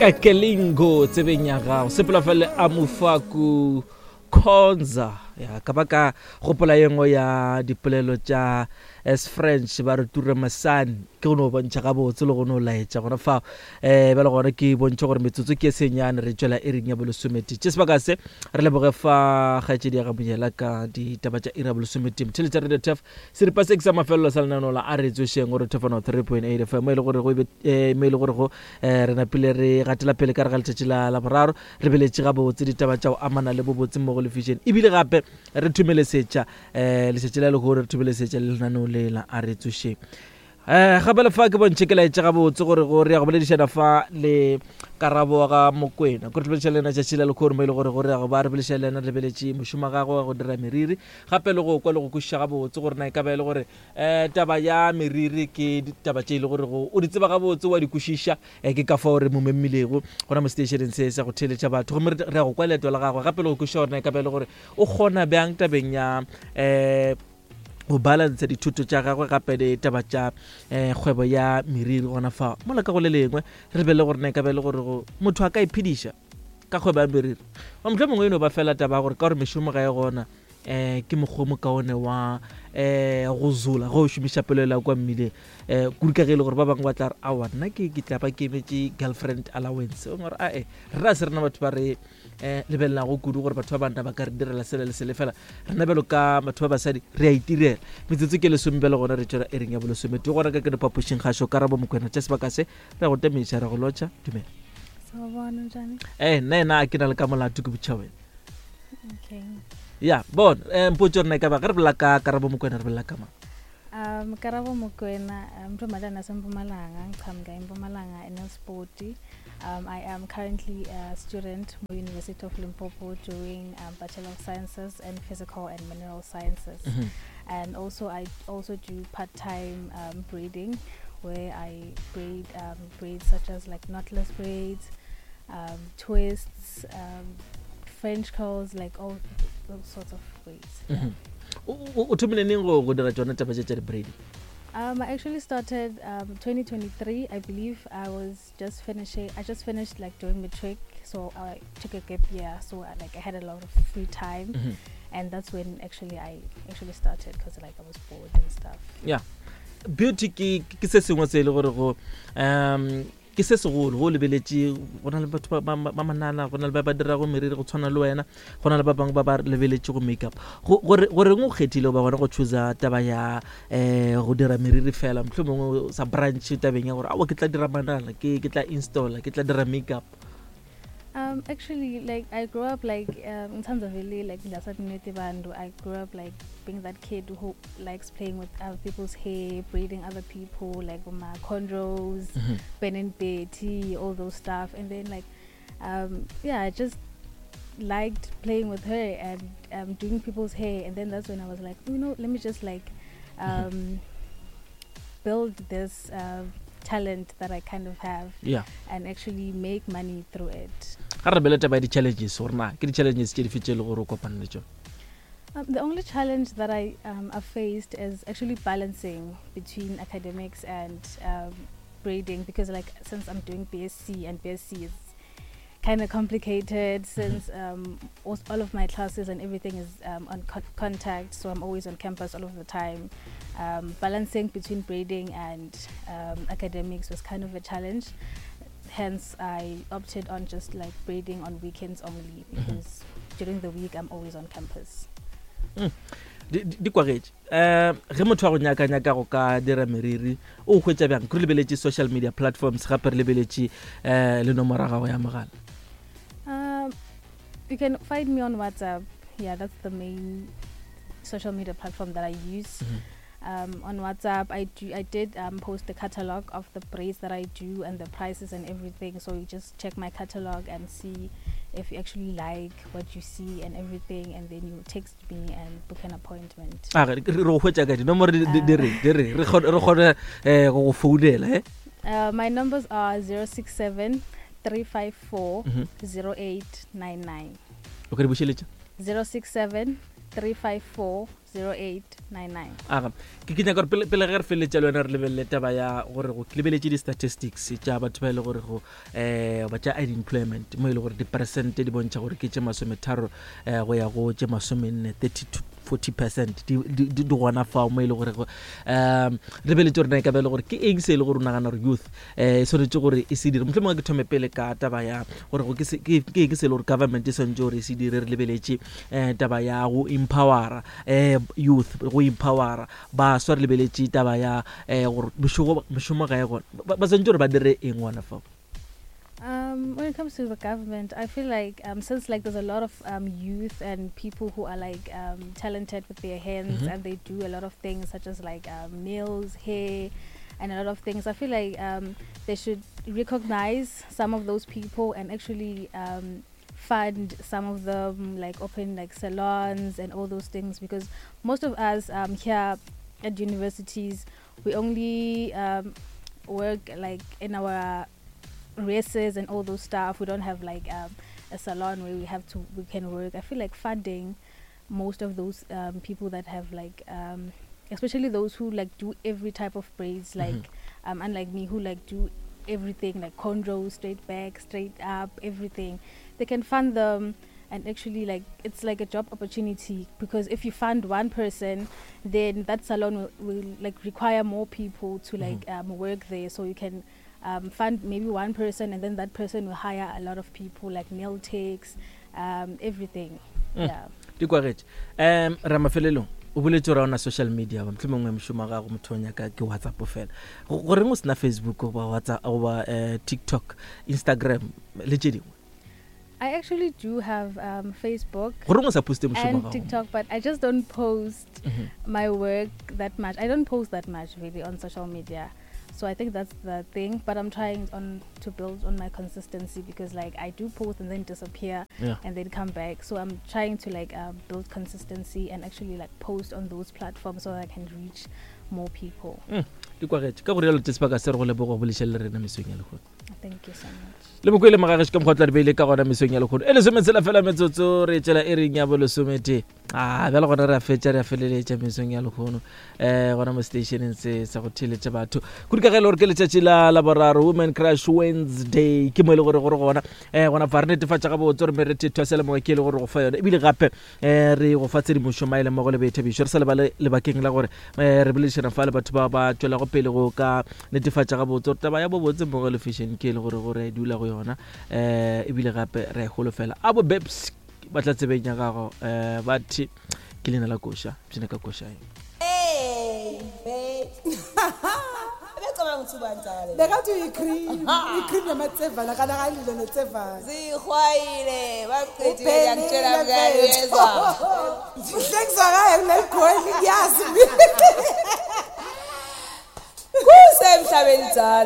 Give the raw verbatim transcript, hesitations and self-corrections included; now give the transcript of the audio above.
Kakelingo tsebeng ya gago sepela fele a mofaku khonza ya ka ba ka gopola ye nngwe ya dipolelo tša as French ba re ture masane ke go no bontšha gabotse le go no laetša gona fao um bjale gona ke bontšha gore metsotso ke e senyane re tšwela e reng ya bolesomete tše sebaka se re leboge fa kgaetšedi ya gamonyela ka ditaba tša iri ya bolesometee motheletša Radio Turf seripa se ke sa mafelelo sa lenaneo la a re tsošeng gore thefano three point eight F M mo e le gore go ebe eh, mo e le gore go eh, re napile re gatela pele ka re ga letšatši la la boraro re beletše gabotse ditaba tša go amana le bobotse mmogo le fashion ebile gape re thomelesetša um letšatši la lehono re thomelesetša le lenaneo le la a re tsošeng um gape le fa ke bontšhe ke laetše gabotse gore go re ya go boledišana fa le Karabo ga Mokwena ko re boledišana le yena tšatši la lehono mo e le gore gore ya go ba re boledišana le yena re lebeletše mošomo wa gagwe wa go dira meriri gape le go kwa le go kwešiša gabotse gore na e ka ba e le gore um taba ya meriri ke ditaba tše e le gore go o di tseba gabotse wa di kwešiša um ke ka fao re mo memilego gona mo seteišeneng se sa go theeletša batho gomme re ya go kwa leeto la gagwe gape le go kwešiša gore na e ka ba e le gore o kgona bjang tabeng ya um go balansa dithuto tša gagwe gape le taba tša um kgwebo ya meriri gona fa mola ka go le lengwe re lebelele gore na e ka ba e le gore go motho a ka iphediša ka kgwebo ya meriri wa motlho mongwe e no ba fela taba ya gore ka gore mešomo ga e gona um ke mokgwa o mokaone wa um go zola ge o šomiša pelo kwa mmileng um kudu ka ge e le gore ba bangwe ba tla re aowa nna ke ke tla ba ke emetše girlfriend allowance o gore ae rena se rena batho ba re um lebelelago kudu gore batho ba banna ba ka re direla sele le sele fela rena bjalo ka batho ba basadi re a itirela metsotso ke lesome bjale gona re tšwela ering ya bolesomete gona ka ke diphapošing gašo Karabo Mokwena tša sebaka se re go temiša re go lotšha dumela Sawubona njani? eh nna ena a ke na le ka molato ke botšha wena Okay. ya bona um mpotse rena e ka ba ge re bolela ka Karabo Mokwena re bolela ka mang Um Karabo Mokwena, um ntombazana yaseMpumalanga, ngiqhamuka eMpumalanga eNelspoti. Um I am currently a student at University of Limpopo doing um, Bachelor of Sciences in Physical and Mineral Sciences. Mhm. And also I also do part-time um, braiding where I braid um, braids such as like knotless braids, um, twists, um, French curls, like all those sorts of braids. Mhm. o o- o thomile neng go go dira tsona taba tše tša di-braiding Um, I actually started um, twenty twenty-three, I believe. I was just finishing. I just finished like doing matric, so I took a gap year. So I, like I had a lot of free time, Mhm. and that's when actually I actually started because like I was bored and stuff. Ya beauty ke ke se sengwe se e le gore go um ke se segolo go o lebeletše go na le batho ba- ba ba manala go na le ba ba dirago meriri go tshwana le wena go na le ba bangwe ba ba lebeletše go makeup Go- gore goreng o kgethile ba gona go choosa taba ya um go dira meriri fela motlho mongwe sa branch tabeng ya gore aowa ke tla dira manala ke ke tla installa ke tla dira makeup? Um, actually, like I grew up like um, in terms of really like bantu, I grew up like being that kid who likes playing with other people's hair, braiding other people, like with my cornrows, Mhm. Ben and Betty, all those stuff. And then like, um, yeah, I just liked playing with her and um, doing people's hair. And then that's when I was like, you know, let me just like um, build this uh, talent that I kind of have yeah and actually make money through it. Ga re lebele taba ya di-challenges gore na ke di-challenges tše dife tše e le gore o kopane le tsone? Um, the only challenge that I um, have faced is actually balancing between academics and um, braiding because, like, since I'm doing B S C and B S C is kind of complicated since um, all, all of my classes and everything is um, on co- contact, so I'm always on campus all of the time. Um, balancing between braiding and um, academics was kind of a challenge. Hence, I opted on just like braiding on weekends only because during the week I'm always on campus. Di di- di kwagetše um ge motho wa go nyaka-nyaka go ka dira meriri o hwetša bjang ke re lebeletše social media platforms gape re lebeletše um le nomoro ya gago ya mogala? Um, you can find me on WhatsApp. Yeah, that's the main social media platform that I use. Um, on WhatsApp, I do I did um, post the catalog of the braids that I do and the prices and everything. So you just check my catalog and see if you actually like what you see and everything, and then you text me and book an appointment. A re re go hwetša ka dinomoro di di- di re di re re kgone re kgone um go go founela e Uh, my numbers are zero six seven three five four Mhm. zero eight nine nine. O ka di bušeletša? zero six seven three five four zero eight nine nine. Aga ke ke nyaka gore pele pele ge re feleletša le wena re lebelele taba ya gore go ke lebeletše di-statistics tša batho ba e le gore go um ba tša unemployment mo e le gore diperesente di bontšha gore ke tše masometharo um go ya go tše masomenne thirty to forty percent di di- di di gona fao mo e le gore go um lebeletše gore na e ka ba e le gore ke eng se e le gore o nagana gore youth um e swanetše gore e se dire mohlomongwe ke thome pele ka taba ya gore go ke se- ke ke eng se e le gore government e swanetše gore e se dire re lebeletše um taba ya go empowera um youth go empowera baswa re lebeletše taba ya um gore mešogo- mešomo ga e gona ba ba swanetše gore ba dire eng gona fao Um, when it comes to the government, I feel like um, since like there's a lot of um, youth and people who are like um, talented with their hands Mhm. and they do a lot of things such as like um, nails, hair, and a lot of things. I feel like um, they should recognize some of those people and actually um, fund some of them, like open like salons and all those things, because most of us um, here at universities, we only um, work like in our races and all those stuff. We don't have like um, a salon where we have to we can work. I feel like funding most of those um, people that have like um, especially those who like do every type of braids, like Mhm. um, unlike me who like do everything, like cornrows, straight back, straight up, everything. They can fund them, and actually like it's like a job opportunity, because if you fund one person, then that salon will, will like require more people to like Mhm. um, work there. So you can um, fund maybe one person, and then that person will hire a lot of people, like nail techs, um, everything. Mm. Yeah. Di kwagetše um ra mafelelong o boletse gore ona social media ba mohlomongwe mošomo wa gago motho o nyaka ke WhatsApp fela. Go- goreng o sena Facebook goba WhatsApp goba um TikTok, Instagram le tše dingwe? I actually do have um, Facebook Goreng o sa poste mošomo wa and gago? TikTok, but I just don't post Mhm. my work that much. I don't post that much really on social media. So I think that's the thing, but I'm trying on to build on my consistency, because like I do post and then disappear Yeah. and then come back. So I'm trying to like um, build consistency and actually like post on those platforms so that I can reach more people. Mm, di kwagetše ka go rialo tse sebaka se re go leboga go bolešha le rena mesong ya lehono. Thank you so much. Le mokwele mogagešo ka mokgwa o tla re beile ka gona mesong ya lehono e lesometshela fela metsotso re tšela e reng ya bolesomete a bjale gona re a fetša re a feleletša mesong ya lehono um gona mo stationeng se sa go theeletša batho kudu ka ge e le gore ke letšatši la laboraro, Women Crush Wednesday, ke mo e le gore gore gona um gona fa re netefatša gabotse gore merethetho ya selemoga ke e le gore go fa yone ebile gape um re go fa tshedimošo maele mmogo le boithabišo re sa lebale lebakeng la gore um re boledišana fa le batho ba ba tšwelago pele go ka netefatša gabotse gore taba ya bobotse mmogo le fashion ke e le gore gore e dula go yona um ebile gape re a e holofela a bo babes ba tla tsebeng ya gago um ba the ke leina la koša pšene ka koša e. Hey, babe. Ebecabanga ukuthi ubani Tsakale? Bekathi uyi-cream, i-cream yamatsevana kana kalilo netsevana. Zihwayile, baqedile Uphelile ngiyakutshela mngani mfethu. uyezwa. Kuhle kuzwakala kuleli goli ngiyazi mina. Kusemhlabeni njalo.